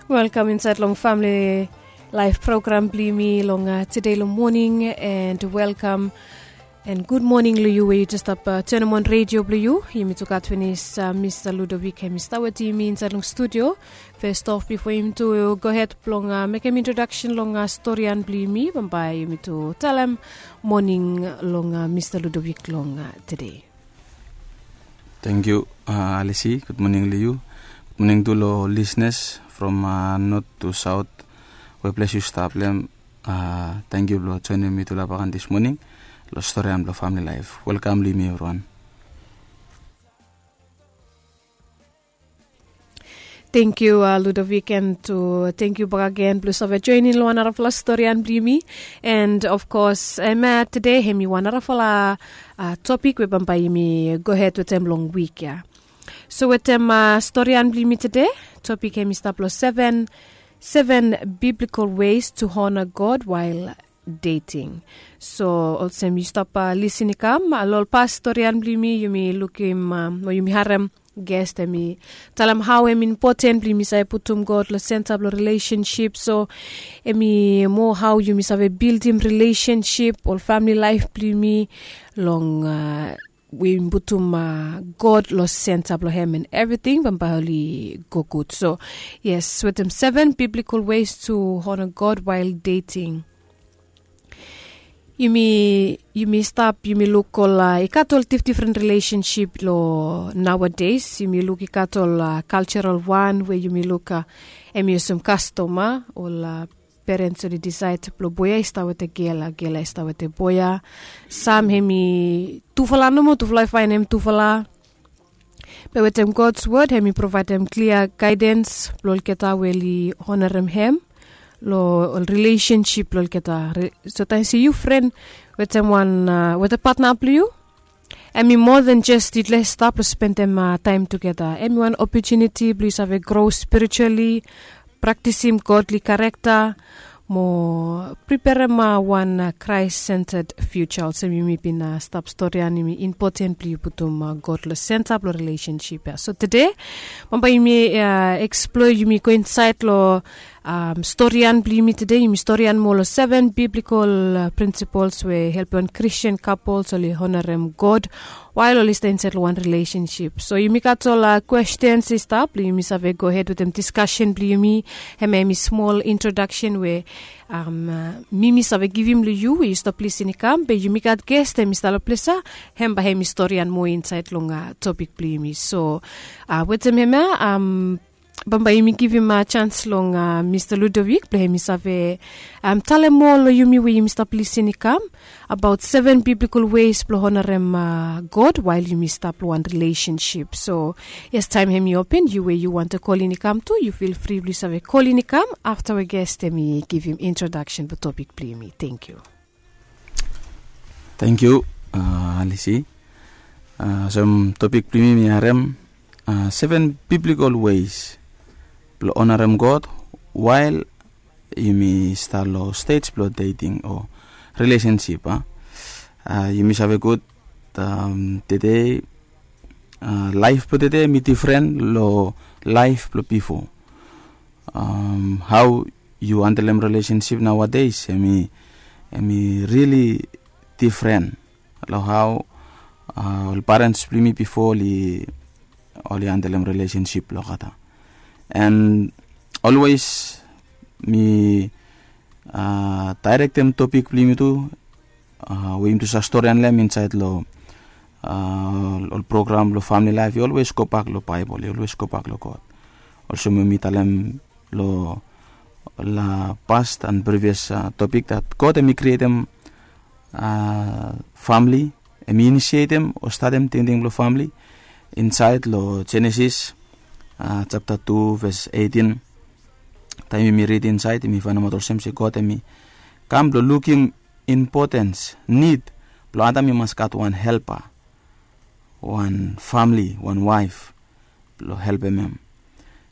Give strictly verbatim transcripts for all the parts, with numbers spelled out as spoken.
Welkam insaet long famili laef program blong yumi long tede long moning, and welkam and gud moning long yu we yu jes stap tenem on redio blong yu. Yumi tu gat finis mista Ludovik, hem i stap wetem yumi insaet long studio. Fes of, bifo yumi tu gohed blong mekem introdaksen long storian blong yumi, bambae yumi tu talem moning long mista Ludovik long tede. Tangkiu, Alisi. Gud moning long yu. Gud moning tu long lisnas from not tu saot, we ples yu stap long hem. Tangkiu blong joenem mitufala bakan dis moning long storian blong famili laef. Welkam long yumi evriwan. Tangkiu, Ludovik, and tu tangkiu bakegen blong save joenem long wan narafala storian blong yumi. And of course, hemia tede hem i wan narafala topik we bambae yumi gohed wetem long wik ya. So wetem storian blong yumi tede, topik hem i stap long seven, seven biblical ways to honor God while dating. So olsem yu stap lisin i kam long ol pas storian blong yumi, yumi lukim o yumi harem ges hem i talem hao hem impoten blong yumi save putum God long senta blong rilesensip. So hem i moa hao yumi save bildim rilesensip, ol famili laef blong yumi, long we yumi putum God long senta blong hem, and evriting bambae oli go gud. So yes, wetem seven biblical ways to honor God while dating. Yumi, yumi stap, yumi luk ol, i gat ol difdifren rilesensip long nowadays. Yumi luk i gat ol kaljaral wan we yumi luk hem i olsem kastom, ol perens oli disaed blong boe ya i stap wetem gel, gel ya i stap wetem boe ya. Sam hem i tufala nomo, tufala i faenem tufala. Be wetem God's word hem i provaedem klia gaedens blong olgeta we oli honarem hem long ol rilesensip blong olgeta. So taem se yu fren wetem wan, wetem patna blong yu, hem i moa den jes yu jes stap long spendem taem tugeta. Hem i wan opotuniti blong yu save gro spirituali, praktisim godly karekta, mo priperem wan Christ-centered future. Olsem yumi bin stap storian, hem i impoten blong yu putum God long senta blong rilesensip ya. So tede bambae yumi eksplor, yumi go insaed long storian blong yumi tede. Yumi storian moa long seven biblical principles we helpem wan Christian couples oli honarem God wael oli stap insaed long wan rilesensip. So yumi gat ol kwestens i stap blong yumi save gohed wetem diskasen blong yumi. Hemia hem i smol introdaksen we mi mi save givim long yu we yu stap lisin i kam, be yumi gat ges hem i stap long ples ya, hem bae hem i storian moa insaed long topik blong yumi. So wetem hemia bambae yumi givim jans long mista Ludovik blong hem i save talem moa long yumi we yumi stap lisin i kam abaot seven biblical ways blong honarem God wael yumi stap long wan rilesensip. So yes, taem hem i open, yu we yu wantem kolin i kam tu, yu fil fri blong yu save kolin i kam afta we ges hem i givim introdaksen blong topik blong yumi. Tangkiu. Tangkiu, Alisi. Olsem topik blong yumi mi harem seven biblical ways blong honarem God wael yumi stap long stej blong dating o rilesensip. Yumi save gud tede laef blong tede hem i difren long laef blong bifo. Hao yu handelem rilesensip naoades hem i, hem i rili difren long hao ol parens blong yumi bifo oli, oli handelem rilesensip blong olgeta. And olwes mi daerektem topik blong yumi tu we yumi tu save storian long hem insaed long ol program blong famili laef, i olwes gobak long Baebol, i olwes gobak long God. Olsem we mi talem long la past and previous topik, dat God hem i krietem famili, hem i inisietem o statem tingting blong famili insaed long Jenesis japta tu ves etin. Taem yumi rid insaed yumi faenemaot olsem se God hem i kam blong lukim impotens, nid blong Adam i mas gat wan helpa, wan famili, wan waef blong helpem hem.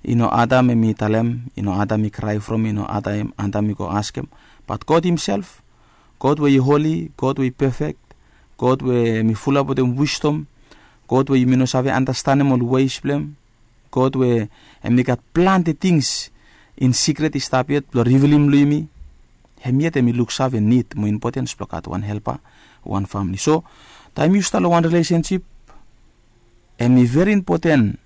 I no Adam hem i talem, i no Adam i krae from, i no Adam, Adam i go askem, bat God himself, God we i holi, God we i pefek, God we hem i fulap wetem wisdom, God we yumi no save andastanem ol ways blong hem, God we hem i gat plante tings in sikret i stap yet blong rivilim long yumi, hem yet hem i luksave nid mo impotens blong gat wan helpa, wan famili. So taem yu stap long wan rilesensip, hem i veri impoten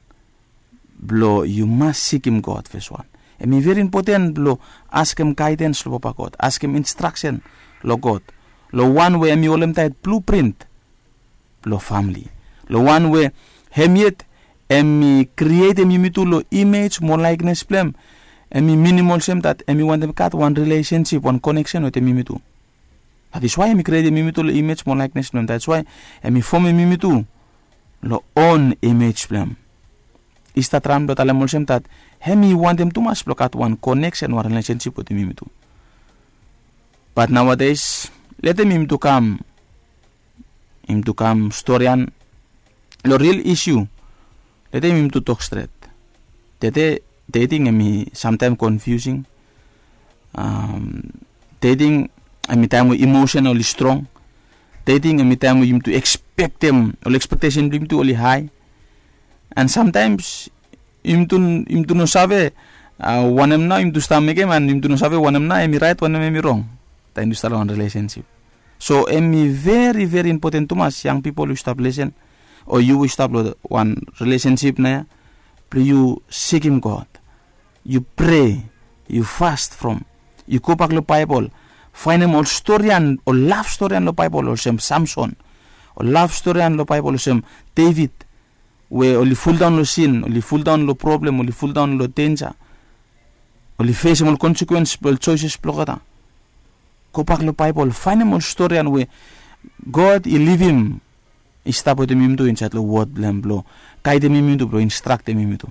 blong yu mas sikim God, fes wan. Hem i veri impoten blong askem gaedens long Papa God, askem instraksen long God, long wan we hem i holem taet bluprint blong famili, long wan we hem yet hem i krietem yumitu long imej mo laeknes blong hem. Hem i minim olsem dat hem i wantem gat wan rilesensip, wan koneksen wetem yumitu. That is why hem i krietem yumitu long imej mo laeknes blong hem. That is why hem i fomem yumitu long on imej blong hem. I stap traem blong talem olsem dat hem i wantem tumas blong gat wan koneksen, wan rilesensip wetem yumitu. Bat naoades, letem yumitu kam, yumitu kam storian long ril isiu. Letem yumitu tok stret. Tede, dating hem i samtaem konfiusing. Dating hem i taem we emosen oli strong. Dating hem i taem we yumitu ekspektem, ol ekspektesen blong yumitu oli hae. And samtaems yumitu, yumitu no save wanem nao yumitu stap mekem, and yumitu no save wanem nao hem i raet, wanem hem i rong. Taem yu stap long wan rilesensip. So hem i veri, veri impoten tumas, yang pipol yu stap lesen, o yu we yu stap long wan rilesensip nao ya, blong yu sikim God, yu prea, yu fas from, yu gobak long Baebol, faenem ol storian, ol laf storian long Baebol olsem Samson, ol laf storian long Baebol olsem Devid, we oli fuldaon long sin, oli fuldaon long problem, oli fuldaon long denja, oli fesem ol konsekwens blong ol joeses blong olgeta. Gobak long Baebol, faenem ol storian we God i livim i stap wetem yumitu insaed long wod blong hem blong gaedem yumitu, blong instraktem yumitu.